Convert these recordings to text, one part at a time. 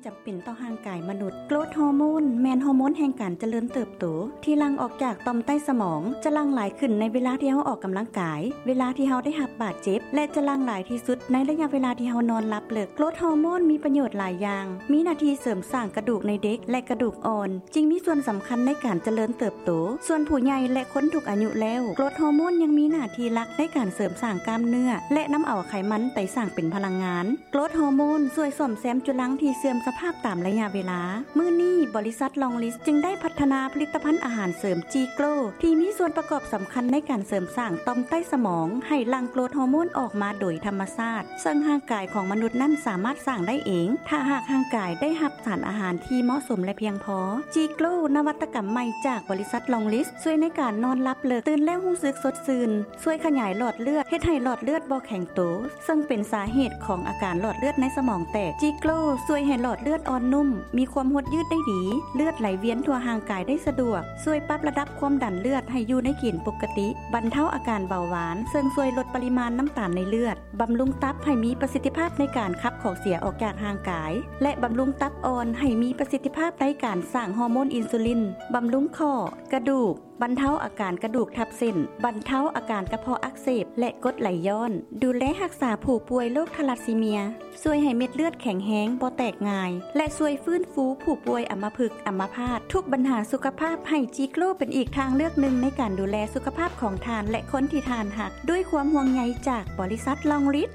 ຈຳເປັນຕໍ່ຮ່າງກາຍມະນຸດ. ໂກຣດຮໍໂມນແມ່ນຮໍໂມນແຫ່ງການຈະເລີນເຕີບໂຕ ທີ່ຫຼັ່ງອອກຈາກຕ່ອມໃຕ້ສະໝອງ, ຈະຫຼັ່ງຫຼາຍຂຶ້ນໃນເວລາທີ່ເຮົາອອກກຳລັງກາຍ, ເວລາທີ່ເຮົາໄດ້ຮັບບາດເຈັບ ແລະ ຈະຫຼັ່ງຫຼາຍທີ່ສຸດໃນໄລຍະເວລາທີ່ເຮົານອນຫຼັບເລິກ. ໂກຣດຮໍໂມນມີປະໂຫຍດຫຼາຍຢ່າງ, ມີໜ້າທີ່ເສີມສ້າງກະດູກໃນເດັກ ແລະ ກະດູກອ່ອນ, ຈຶ່ງມີສ່ວນສຳຄັນໃນການຈະເລີນເຕີບໂຕ. ສ່ວນຜູ້ໃຫຍ່ ແລະ ຄົນທຸກອາຍຸແລ້ວ, ໂກຣດຮໍໂມນຍັງມີໜ້າທີ່ຫຼັກໃນການເສີມສ້າງກ້າມເນື້ອ ແລະ ນຳເອົາໄຂມັນໄປສ້າງເປັນພະລັງງານ. ໂກຣດຮໍໂມນຊ່ວຍສ້ອມແຊມຈຸລັງທີ່ເສື່ອມສະພາບຕາມໄລຍະເວລາ. ມື້ນີ້, ບໍລິສັດລອງລິດຈຶ່ງໄດ້ພັດທະນາຜະລິດຕະພັນອາຫານເສີມຈີໂກຣ ທີ່ມີສ່ວນປະກອບສຳຄັນໃນການເສີມສ້າງຕ່ອມໃຕ້ສະໝອງໃຫ້ຫຼັ່ງໂກຣດຮໍໂມນອອກມາໂດຍທຳມະຊາດ, ເຊິ່ງຮ່າງກາຍຂອງມະນຸດນັ້ນສາມາດສ້າງໄດ້ເອງ ຖ້າຫາກຮ່າງກາຍໄດ້ຮັບສານອາຫານທີ່ເໝາະສົມ ແລະ ພຽງພໍ. ຈີໂກຣ ນະວັດຕະກຳໃໝ່ຈາກບໍລິສັດລອງລິດ ຊ່ວຍໃນການນອນຫຼັບເລິກ, ຕື່ນແລ້ວຮູ້ສຶກສົດຊື່ນ, ຊ່ວຍຂະຫຍາຍຫຼອດເລືອດ, ເຮັດໃຫ້ຫຼອດເລືອດບໍ່ແຂງໂຕ, ເຊິ່ງເປັນສາເຫດຂອງອາການຫຼອດເລືອດໃນສະໝອງແຕກ. ຈີໂກຣຊ່ວຍໃຫ້ຫຼອດເລືອດອ່ອນນຸ້ມ, ມີຄວາມຫົດຍືດໄດ້ດີ, ເລືອດໄຫຼວຽນທົ່ວຮ່າງກາຍໄດ້ສະດວກ, ຊ່ວຍປັບລະດັບຄວາມດັນເລືອດໃຫ້ຢູ່ໃນເກນປົກກະຕິ, ບັນເທົາອາການເບົາຫວານ, ເຊິ່ງຊ່ວຍລົດປະລິມານນ້ຳຕານໃນເລືອດ, ບຳລຸງຕັບໃຫ້ມີປະສິດທິພາບໃນການຂັບຂອງເສຍອອກຈາກຮ່າງກາຍ ແລະ ບຳລຸງຕັບອ່ອນໃຫ້ມີປະສິດທິພາບໃນການສ້າງຮໍໂມນອິນຊູລິນ, ບຳລຸງຂໍ້, ກະດູກ, ບັນເທົາອາການກະດູກທັບເສັ້ນ, ບັນເທົາອາການກະເພາະອັກເສບ ແລະ ກົດໄຫຼຍ້ອນ, ດູແລຮັກສາຜູ້ປ່ວຍໂລກທາລັດຊີເມຍ, ຊ່ວຍໃຫ້ເມັດເລືອດແຂງແຮງ, ບໍ່ແຕກງ່າຍ ແລະ ຊ່ວຍຟື້ນຟູຜູ້ປ່ວຍອຳມະພຶກ, ອຳມະພາດ. ທຸກບັນຫາສຸຂະພາບ, ໃຫ້ຈີໂກຣເປັນອີກທາງເລືອກໜຶ່ງໃນການດູແລສຸຂະພາບຂອງທ່ານ ແລະ ຄົນທີ່ທ່ານຮັກ, ດ້ວຍຄວາມຫ່ວງໃຍຈາກບໍລິສັດລອງລິດ.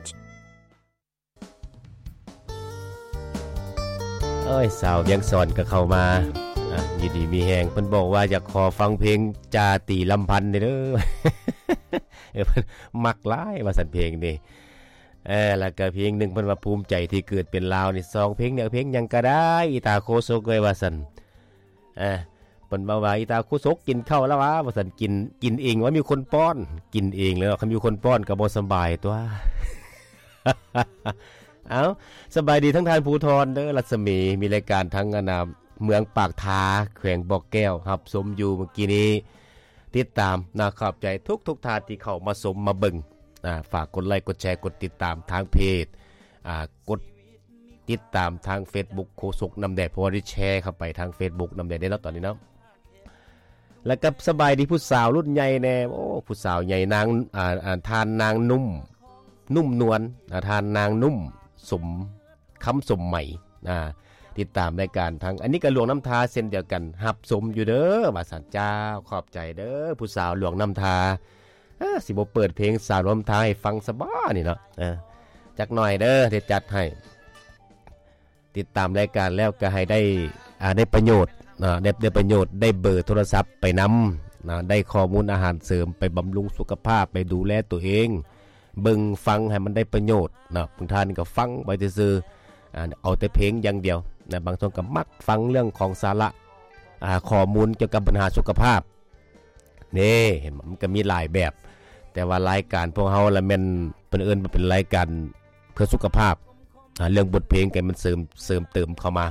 ເອີຍ ສາວວຽງສອນກໍເຂົ້າມາ ອ່າ ຢູ່ດີມີແຮງ. ເພິ່ນບອກວ່າຢາກຂໍຟັງເພງຈາຕີລຳພັນເດີ ເອີ ເພິ່ນມັກຫຼາຍວ່າຊັ້ນເພງນີ້. ເອີ ແລ້ວກໍເພງໜຶ່ງເພິ່ນວ່າພູມໃຈທີ່ເກີດເປັນລາວນີ້ ສອງເພງນີ້ ເອົາເພງຫຍັງກໍໄດ້ ອີຕາໂຄສົກເອີຍ ວ່າຊັ້ນ. ເອີ ເພິ່ນເວົ້າວ່າ ອີຕາໂຄສົກກິນເຂົ້າແລ້ວຫວາ ວ່າຊັ້ນ. ກິນ ກິນເອງວ່າມີຄົນປ້ອນ ກິນເອງແລ້ວເນາະ ຄັນມີຄົນປ້ອນກໍບໍ່ສະບາຍຕົວະ. ເອົ້າ ສະບາຍດີທັງທ່ານພູທອນເດີ ລັດສະໝີ ມີລາຍການທາງ ອັນນ່າ ເມືອງປາກທາ ແຂວງບໍ່ແກ້ວ ຮັບຊົມຢູ່ເມື່ອກີ້ນີ້ ຕິດຕາມນະ. ຂອບໃຈທຸກໆທ່ານທີ່ເຂົ້າມາຊົມມາເບິ່ງ ອ່າ ຝາກກົດໄລກົດແຊ ກົດຕິດຕາມທາງເພຈ ອ່າ ກົດ ຕິດຕາມທາງເຟສບຸກໂຄສົກນ້ຳແດດ ເພາະວ່າໄດ້ແຊເຂົ້າໄປທາງເຟສບຸກນ້ຳແດດເດ້ເນາະ ຕອນນີ້ເນາະ. ແລ້ວກໍສະບາຍດີຜູ້ສາວລຸ້ນໃຫຍ່ແດ່ ໂອ້ ຜູ້ສາວໃຫຍ່ນາງ ອ່າ ອ່າ ທ່ານນາງນຸ້ມ ນຸ້ມນວນ ອ່າ ທ່ານນາງນຸ້ມ ສົມ ຄຳສົມໄໝ ອ່າ ຕິດຕາມລາຍການທາງ ອັນນີ້ກໍຫຼວງນ້ຳທາເຊັ່ນດຽວກັນ ຮັບຊົມຢູ່ເດີ ວ່າຊັ້ນ. ເຈົ້າ ຂອບໃຈເດີ ຜູ້ສາວຫຼວງນ້ຳທາ. ເອີ ຊິບໍ່ເປີດເພງສາວຫຼວງນ້ຳທາໃຫ້ຟັງຊະບໍນີ້ເນາະ. ເອີ ຈັກໜ້ອຍເດີ ໄດ້ຈັດໃຫ້. ຕິດຕາມລາຍການແລ້ວກໍໃຫ້ໄດ້ ອ່າ ໄດ້ປະໂຫຍດເນາະ ໄດ້ ໄດ້ປະໂຫຍດ ໄດ້ເບີໂທລະສັບໄປນຳເນາະ ໄດ້ຂໍ້ມູນອາຫານເສີມ ໄປບຳລຸງສຸຂະພາບ ໄປດູແລຕົວເອງ ເບິ່ງຟັງໃຫ້ມັນໄດ້ປະໂຫຍດເນາະ. ບາງທ່ານກໍຟັງໄປຊື່ໆ ອ່າ ເອົາແຕ່ເພງຢ່າງດຽວນະ ບາງຊ່ວງກໍມັກຟັງເລື່ອງຂອງສາລະ ອ່າ ຂໍ້ມູນກ່ຽວກັບບັນຫາສຸຂະພາບ. ນີ້ ເຫັນບໍ່ ມັນກໍມີຫຼາຍແບບ ແຕ່ວ່າລາຍການພວກເຮົາລະແມ່ນ ເພິ່ນເອີ້ນວ່າເປັນລາຍການເພື່ອສຸຂະພາບ. ອ່າ ເລື່ອງບົດເພງກໍໃຫ້ມັນເສີມ ເສີມເຕີມເຂົ້າມາ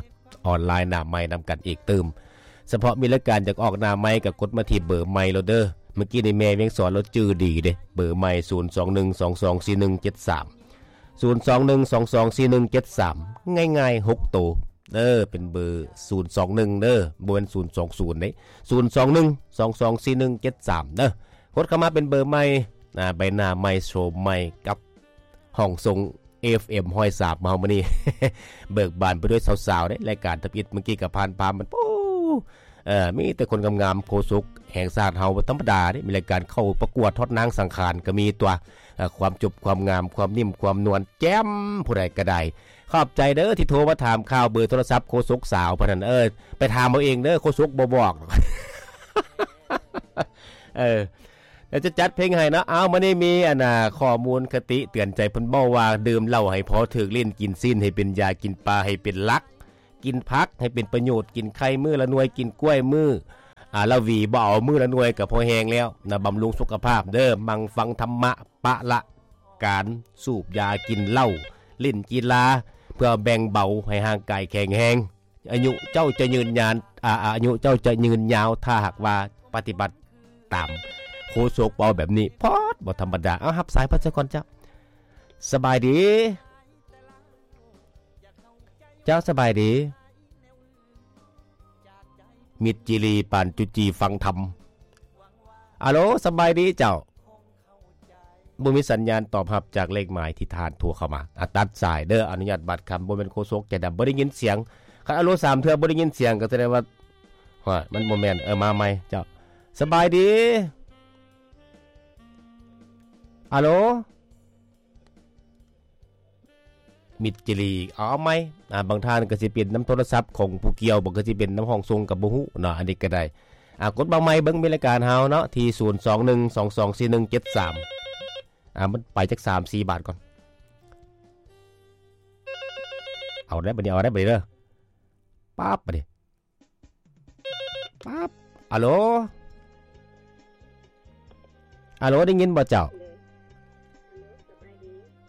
ອອນລາຍໜ້າໄມນຳກັນອີກຕື່ມ. ສະເພາະມີລາຍການຢາກອອກໜ້າໄມກໍກົດມາທີ່ເບີໄມໂລດເດີ. ເມື່ອກີ້ນີ້ແມ່ວຽງສອນລາວຈື່ດີເດ້ ເບີໄມ ສູນສອງໜຶ່ງສອງສອງສີ່ໜຶ່ງເຈັດສາມ ສູນສອງໜຶ່ງສອງສອງສີ່ໜຶ່ງເຈັດສາມ ງ່າຍໆ ຫົກໂຕ. ເອີ ເປັນເບີສູນສອງໜຶ່ງເດີ ບໍ່ແມ່ນສູນສອງສູນເດ້ ສູນສອງໜຶ່ງສອງສອງສີ່ໜຶ່ງເຈັດສາມເດີ. ກົດເຂົ້າມາເປັນເບີໃໝ່ ອ່າ ໃບໜ້າໃໝ່ ໂສມໃໝ່ ກັບຫ້ອງສົ່ງ ເອັຟເອັມຮ້ອຍສາມເຮົາມື້ນີ້ ເບີກບານໄປດ້ວຍສາວໆເດ້. ລາຍການທຳອິດເມື່ອກີ້ກໍຜ່ານຜ່ານມັນ ໂອ້ ເອີ ມີແຕ່ຄົນງາມໆ. ໂຄສົກແຫ່ງຊາດເຮົາບໍ່ທຳມະດາເດ້ ມີລາຍການເຂົ້າປະກວດຮອດນາງສັງຂານກໍມີຕົວະ. ເອີ ຄວາມຈົບ ຄວາມງາມ ຄວາມນິ່ມ ຄວາມນວນ ແຈ່ມ ຜູ້ໃດກໍໄດ້. ຂອບໃຈເດີທີ່ໂທມາຖາມຂ່າວ ເບີໂທລະສັບໂຄສົກສາວພະນັ້ນ. ເອີ ໄປຖາມເອົາເອງເດີ ໂຄສົກບໍ່ບອກ. ເອີ ແລ້ວຈະຈັດເພງໃຫ້ເນາະ. ເອົາ ມື້ນີ້ມີ ອັນນ່າ ຂໍ້ມູນຄະຕິເຕືອນໃຈ ເພິ່ນເວົ້າວ່າ ດື່ມເຫຼົ້າໃຫ້ພໍຖືກລີ້ນ ກິນຊີ້ນໃຫ້ເປັນຢາ ກິນປາໃຫ້ເປັນຫຼັກ ກິນຜັກໃຫ້ເປັນປະໂຫຍດ ກິນໄຂ່ມື້ລະໜ່ວຍ ກິນກ້ວຍມື້ ອ່າ ລະຫວີ ບໍ່ເອົາມື້ລະໜ່ວຍກໍພໍແຮງແລ້ວນະ. ບຳລຸງສຸຂະພາບເດີ ໝັ່ງຟັງທຳມະ ປະລະການສູບຢາ ກິນເຫຼົ້າ ຫຼິ້ນກິລາ ເພື່ອແບ່ງເບົາໃຫ້ຮ່າງກາຍແຂງແຮງ. ອາຍຸເຈົ້າຈະຍືນຍານ ອາ ອາຍຸເຈົ້າຈະຍືນຍາວ ຖ້າຫາກວ່າປະຕິບັດຕາມໂຄສົກເວົ້າແບບນີ້. ພອດ ບໍ່ທຳມະດາ. ເອົາ ຮັບສາຍເພິ່ນຊະກ່ອນເຈົ້າ. ສະບາຍດີ. ເຈົ້າສະບາຍດີ ມິດຈີຣີປານຈຸຈີຟັງທຳ. ອາໂລ ສະບາຍດີເຈົ້າ. ບໍ່ມີສັນຍານຕອບຮັບຈາກເລກໝາຍທີ່ທ່ານໂທເຂົ້າມາ. ອາ ຕັດສາຍເດີ. ອະນຸຍາດບາດຄຳ ບໍ່ແມ່ນໂຄສົກໃຈດຳ. ບໍ່ໄດ້ຍິນສຽງ. ຄັນອາໂລສາມເທື່ອບໍ່ໄດ້ຍິນສຽງ ກໍສະແດງວ່າ ໂອ້ຍ ມັນບໍ່ແມ່ນ. ເອີ ມາໃໝ່ເຈົ້າ. ສະບາຍດີ. ອາໂລ ມິດຈີຣີ ເອົາໃໝ່. ອາ ບາງທ່ານກໍຊິເປັນນຳໂທລະສັບຂອງຜູ້ກ່ຽວ ບາງກໍຊິເປັນນຳຫ້ອງສົ່ງກໍບໍ່ຮູ້ເນາະ. ອັນນີ້ກໍໄດ້. ອາ ກົດມາໃໝ່ເບິ່ງ ມີລາຍການເຮົາເນາະ ທີ່ ສູນສອງໜຶ່ງສອງສອງສີ່ໜຶ່ງເຈັດສາມ. ອາ ມັນໄປຈັກສາມສີ່ບາດກ່ອນ. ເອົາໄດ້ບັດນີ້ ເອົາໄດ້ບັດນີ້ເດີ. ປັບ ບັດນີ້. ປັບ. ອາໂລ ອາໂລ ໄດ້ຍິນບໍ່ເຈົ້າ?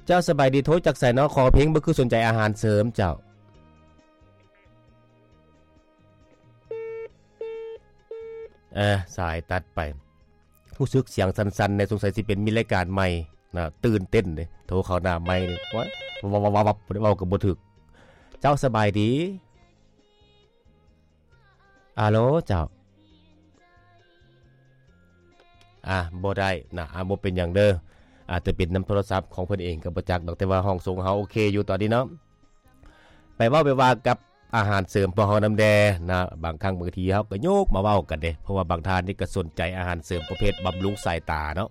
ເຈົ້າສະບາຍດີ ໂທຈາກໃສເນາະ? ຂໍເພງບໍ່ຄືສົນໃຈອາຫານເສີມເຈົ້າ. ເອີ ສາຍຕັດໄປ. ຮູ້ສຶກສຽງສັ່ນໆແດ່ ສົງໄສຊິເປັນມີລາຍການໃໝ່ນະ. ຕື່ນເຕັ້ນເດ້ ໂທເຂົ້າໜ້າໄມນີ້ ໂອ້ຍ ວັບໆໆ ເວົ້າກໍບໍ່ຖືກ. ເຈົ້າສະບາຍດີ. ອາໂລ ເຈົ້າ. ອາ ບໍ່ໄດ້ນະ. ອາ ບໍ່ເປັນຫຍັງເດີ. ອາດຈະເປັນນຳໂທລະສັບຂອງເພິ່ນເອງກໍບໍ່ຈັກດອກ. ແຕ່ວ່າຫ້ອງສົ່ງເຮົາໂອເຄຢູ່ຕອນນີ້ເນາະ. ໄປເວົ້າໄປວ່າກັບອາຫານເສີມພວກເຮົານຳແດ່ນະ. ບາງຄັ້ງບາງທີເຮົາກໍຍົກມາເວົ້າກັນເດ້ ເພາະວ່າບາງທ່ານນີ້ກໍສົນໃຈອາຫານເສີມປະເພດບຳລຸງສາຍຕາເນາະ.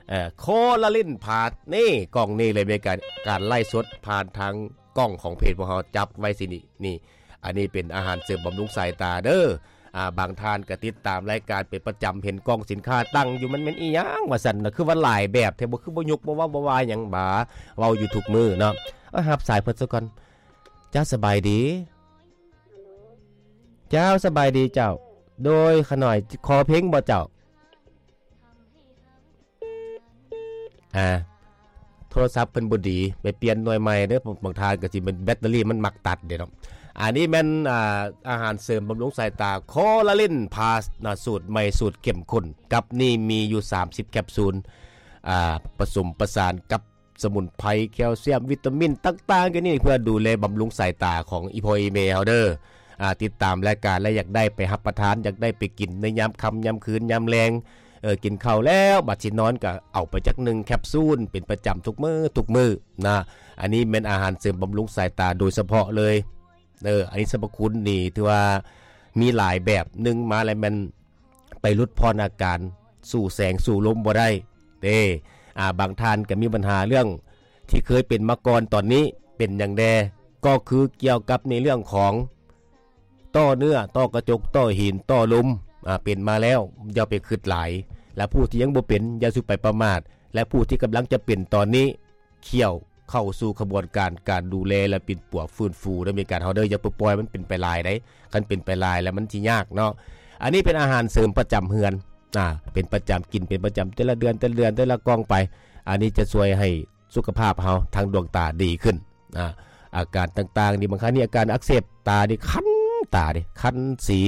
ເອີ ໂຄລາລິນພາສ ນີ້ ກ້ອງນີ້ເລີຍ ມີການ ການໄລຟ໌ສົດຜ່ານທາງກ້ອງຂອງເພຈພວກເຮົາຈັບໄວ້ຊິນີ້. ນີ້ ອັນນີ້ເປັນອາຫານເສີມບຳລຸງສາຍຕາເດີ. ອາ ບາງທ່ານກໍຕິດຕາມລາຍການເປັນປະຈຳ ເຫັນກ້ອງສິນຄ້າຕັ້ງຢູ່ ມັນແມ່ນອີ່ຫຍັງວ່າຊັ້ນນະ ຄືວ່າຫຼາຍແບບແທ້ ບໍ່ ຄືບໍ່ຍົກ ບໍ່ເວົ້າ ບໍ່ວ່າຫຍັງບາ ເວົ້າຢູ່ທຸກມື້ເນາະ. ເອົາ ຮັບສາຍເພິ່ນຊະກ່ອນ. ເຈົ້າສະບາຍດີ. ເຈົ້າສະບາຍດີເຈົ້າ. ໂດຍ ຂະໜ້ອຍ ຂໍເພງບໍ່ເຈົ້າ? ອາ ໂທລະສັບເພິ່ນບໍ່ດີ ໄປປ່ຽນໜ່ວຍໃໝ່ເດີ. ບາງທ່ານກໍຊິແມ່ນແບັດເຕີຣີມັນມັກຕັດເດ້ເນາະ. ອັນນີ້ແມ່ນ ອາ ອາຫານເສີມບຳລຸງສາຍຕາ ໂຄລາລິນພາສນະ ສູດໃໝ່ ສູດເຂັ້ມຂຸ້ນ ກັບນີ້ມີຢູ່ສາມສິບແຄັບຊູນ ອາ ປະສົມປະສານກັບສະໝຸນໄພ ແຄວຊຽມ ວິຕາມິນຕ່າງໆ ຢູ່ນີ້ ເພື່ອດູແລບຳລຸງສາຍຕາຂອງອີ່ພໍ່ອີ່ແມ່ເຮົາເດີ. ອາ ຕິດຕາມລາຍການແລ້ວ ຢາກໄດ້ໄປຮັບປະທານ ຢາກໄດ້ໄປກິນໃນຍາມຄ່ຳຍາມຄືນຍາມແລງ ເອີ ກິນເຂົ້າແລ້ວ ບັດຊິນອນກໍເອົາໄປຈັກໜຶ່ງແຄັບຊູນເປັນປະຈຳທຸກມື້ ທຸກມື້ນະ. ອັນນີ້ແມ່ນອາຫານເສີມບຳລຸງສາຍຕາໂດຍສະເພາະເລີຍ. ເອີ ອັນນີ້ສັບພະຄຸນນີ້ຖືວ່າມີຫຼາຍແບບ. ໜຶ່ງມາແລ້ວແມ່ນໄປຫຼຸດຜ່ອນອາການ ສູ້ແສງສູ້ລົມບໍ່ໄດ້ເດ້. ອາ ບາງທ່ານກໍມີບັນຫາເລື່ອງທີ່ເຄີຍເປັນມາກ່ອນ ຕອນນີ້ເປັນຫຍັງແດ່? ກໍຄືກ່ຽວກັບໃນເລື່ອງຂອງ ຕໍ່ເນື້ອ ຕໍ່ກະຈົກ ຕໍ່ຫີນ ຕໍ່ລົມ ອາ ເປັນມາແລ້ວ ຢ່າໄປຄຶດຫຼາຍ ແລະ ຜູ້ທີ່ຍັງບໍ່ເປັນ ຢ່າສູ່ໄປປະໝາດ ແລະ ຜູ້ທີ່ກຳລັງຈະເປັນຕອນນີ້ ຂ້ຽວເຂົ້າສູ່ຂະບວນການ ການດູແລ ແລະ ປິ່ນປົວຟື້ນຟູໃນອາການເຮົາເດີ. ຢ່າໄປປ່ອຍມັນເປັນໄປຫຼາຍໃດ໋ ຄັນເປັນໄປຫຼາຍແລ້ວມັນຊິຍາກເນາະ. ອັນນີ້ເປັນອາຫານເສີມປະຈຳເຮືອນ ອາ ເປັນປະຈຳ ກິນເປັນປະຈຳ ແຕ່ລະເດືອນ ແຕ່ລະເດືອນ ແຕ່ລະກ່ອງໄປ ອັນນີ້ຈະຊ່ວຍໃຫ້ ສຸຂະພາບເຮົາທາງດວງຕາດີຂຶ້ນ. ອາ ອາການຕ່າງໆນີ້ ບາງຄັ້ງນີ້ອາການອັກເສບຕານີ້ ຄັນຕາເດ້ ຄັນສີ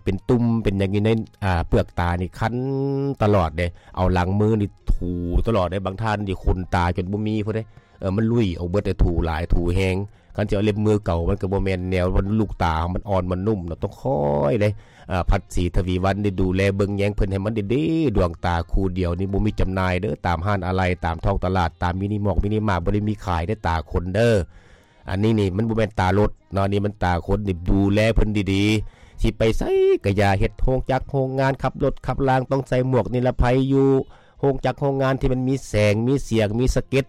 ເປັນຕຸ່ມເປັນຫຍັງຢູ່ໃນ ອາ ເປືອກຕານີ້ ຄັນຕະຫຼອດເດ້. ເອົາຫຼັງມືນີ້ຖູຕະຫຼອດເດ້. ບາງທ່ານນີ້ຂົນຕາຈົນບໍ່ມີພຸ້ນເດ້ ເອີ ມັນລຸຍອອກເບິດເດ້ ຖູຫຼາຍຖູແຮງ. ຄັນຊິເອົາເລັບມືເກົ່າ ມັນກໍບໍ່ແມ່ນແນວ ມັນລູກຕາເຮົາມັນອ່ອນມັນນຸ້ມເນາະ ຕ້ອງຄອຍເດ້ ອາ ພັດສີທະວີວັນໄດ້ດູແລເບິ່ງແຍງເພິ່ນໃຫ້ມັນດີໆ. ດວງຕາຄູ່ດຽວນີ້ບໍ່ມີຈຳໜ່າຍເດີ ຕາມຮ້ານອາໄຫຼ່ ຕາມທ້ອງຕະຫຼາດ ຕາມມິນິມອກມິນິມາດ ບໍ່ໄດ້ມີຂາຍເດ້ ຕາຄົນເດີ. ອັນນີ້ນີ້ມັນບໍ່ແມ່ນຕາລົດເນາະ ນີ້ມັນຕາຄົນ ນີ້ດູແລເພິ່ນດີໆ. ຊິໄປໃສກະຢ່າ ເຮັດໂຮງຈັກໂຮງງານ ຂັບລົດຂັບລາງ ຕ້ອງໃສ່ໝວກນິລະໄພຢູ່ ໂຮງຈັກໂຮງງານທີ່ມັນມີແສງ ມີສຽງ ມີສະເກັດ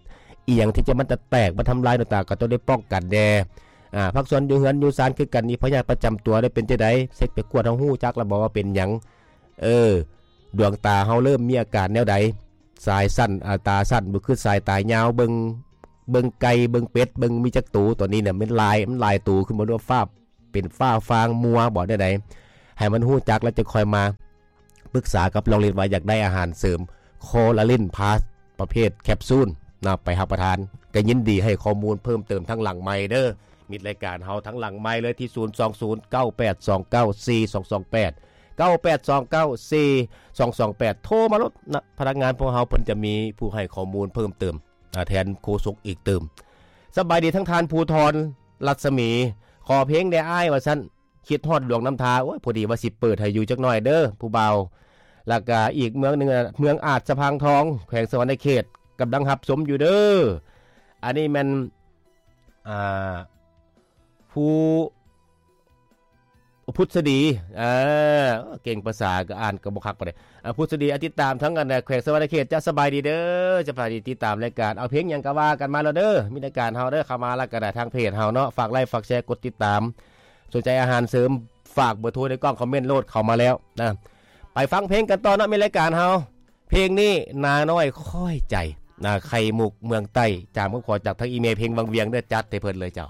ອີ່ຫຍັງທີ່ຈະມັນຈະແຕກມາທຳລາຍດວງຕາ ກໍຕ້ອງໄດ້ປ້ອງກັນແດ່. ອາ ພາກສ່ວນຢູ່ເຮືອນຢູ່ຊານຄືກັນນີ້ ພະຍາດປະຈຳຕົວໄດ້ເປັນຈັ່ງໃດ? ເຊັກໄປກວດ ເຮົາຮູ້ຈັກແລ້ວບໍ່ວ່າເປັນຫຍັງ? ເອີ ດວງຕາເຮົາເລີ່ມມີອາການແນວໃດ? ສາຍສັ້ນ ອາ ຕາສັ້ນບໍ່ຄືສາຍຕາຍາວ ເບິ່ງ ເບິ່ງໄກ່ ເບິ່ງເປັດ ເບິ່ງມີຈັກໂຕ. ຕອນນີ້ນະ ມັນຫຼາຍ ມັນຫຼາຍໂຕຂຶ້ນມາ ຫຼືວ່າຟ້າ ເປັນຟ້າຟາງມົວບໍ ແນວໃດ ໃຫ້ມັນຮູ້ຈັກ ແລ້ວຈະຄ່ອຍມາປຶກສາກັບລອງລິດວ່າຢາກໄດ້ອາຫານເສີມ Coraline Plus ປະເພດແຄັບຊູນນະ ໄປຮັບປະທານ. ກໍຍິນດີໃຫ້ຂໍ້ມູນເພີ່ມເຕີມທາງຫຼັງໄມເດີ ມິດລາຍການເຮົາທາງຫຼັງໄມເລີຍ ທີ່ ສູນສອງສູນ ເກົ້າແປດສອງເກົ້າ ສີ່ສອງສອງແປດ ເກົ້າແປດສອງເກົ້າ ສີ່ສອງສອງແປດ ໂທມາໂລດນະ. ພະນັກງານພວກເຮົາເພິ່ນຈະມີຜູ້ໃຫ້ຂໍ້ມູນເພີ່ມເຕີມ ອາ ແທນໂຄສົກອີກຕື່ມ. ສະບາຍດີທັງທ່ານ ພູທອນ ລັດສະໝີ. ຂໍເພງແດ່ອ້າຍວ່າຊັ້ນ ຄິດຮອດຫຼວງນ້ຳທາ. ໂອ້ຍ ພໍດີວ່າຊິເປີດໃຫ້ຢູ່ຈັກໜ່ອຍເດີຜູ້ບ່າວ. ແລ້ວກະອີກເມືອງໜຶ່ງ ເມືອງອາດສະພັງທອງ ແຂວງສະຫວັນນະເຂດ ກຳລັງຮັບຊົມຢູ່ເດີ. ອັນນີ້ແມ່ນ ອ່າ ຜູ້ ພຸດສະດີ ເອີ ເກັ່ງພາສາກໍອ່ານກໍບໍ່ຄັກປານໃດ. ອ່າ ພຸດສະດີ ອ່າ ຕິດຕາມທັງອັນແຂວງສະຫວັນນະເຂດ. ຈະສະບາຍດີເດີ ຈະສະບາຍດີ ຕິດຕາມລາຍການ ເອົາເພງຫຍັງກໍວ່າກັນມາໂລດເດີ. ມີລາຍການເຮົາເດີ ເຂົ້າມາແລ້ວກໍໄດ້ທາງເພຈເຮົາເນາະ ຝາກໄລ ຝາກແຊ ກົດຕິດຕາມ. ສົນໃຈອາຫານເສີມ ຝາກເບີໂທໃນກ່ອງຄອມເມັນໂລດ ເຂົ້າມາແລ້ວນະ. ໄປຟັງເພງກັນຕໍ່ເນາະ ມີລາຍການເຮົາ. ເພງນີ້ ນານ້ອຍຄ້ອຍໃຈນະ ໄຂ່ມຸກເມືອງໃຕ້ ຈາມຄຳຂໍຈາກທາງອີເມເພງວັງວຽງເດີ. ຈັດໃຫ້ເພິ່ນເລີຍເຈົ້າ.